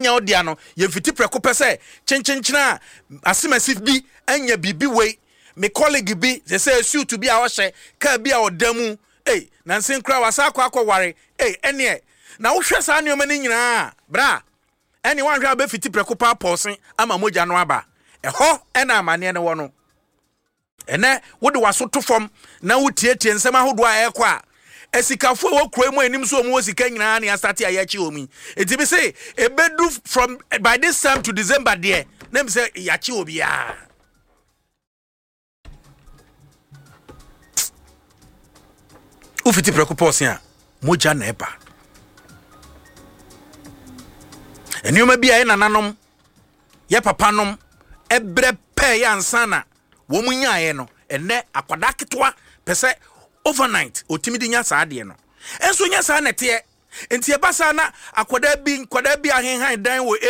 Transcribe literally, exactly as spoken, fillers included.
Nya wo dea no, yɛmfiti prɛko pɛ sɛ kyenkyenkyene a asemasi bi anya biribi wei, me colleague bi sɛ sɛ suit bi a ɔhyɛ, kaa bi a ɔda mu, ei, nansen koraa wasa akɔ akɔware, ei, ɛneɛ na wohwɛ saa nneɛma no nyinaa bra, ɛne woanhwɛ a wobɛfiti prɛko pɛ apɔɔse ama mogya no aba. Ɛhɔ ɛna amanneɛ no wɔ no. Ɛnɛ wode w'aso to fam na wotietie nsɛm ahodoɔ a ɛrekɔ a, asikafoɔ a ɛwɔ kuro mu a anim so wɔn wɔ sika nyinaa ne asate a yɛakyi wɔn yi. Enti bi se ebedu from by this time to December deɛ, na mi sɛ yɛakyi obiara. Wofiti prɛko pɔɔse a, mogya na ɛba. Nneɛma bi a yɛ nananom, yɛ papanom ɛbrɛ pɛɛ yɛ ansa na wɔn nyaeɛ no, ɛnɛ akwadaa ketewa pɛ sɛ overnight otumi de nya saa adeɛ no. Ɛnso nyɛ saa na ɛteɛ. Nti ɛba saa na akwadaa bi nkwadaa bi ahenhan dan wɔ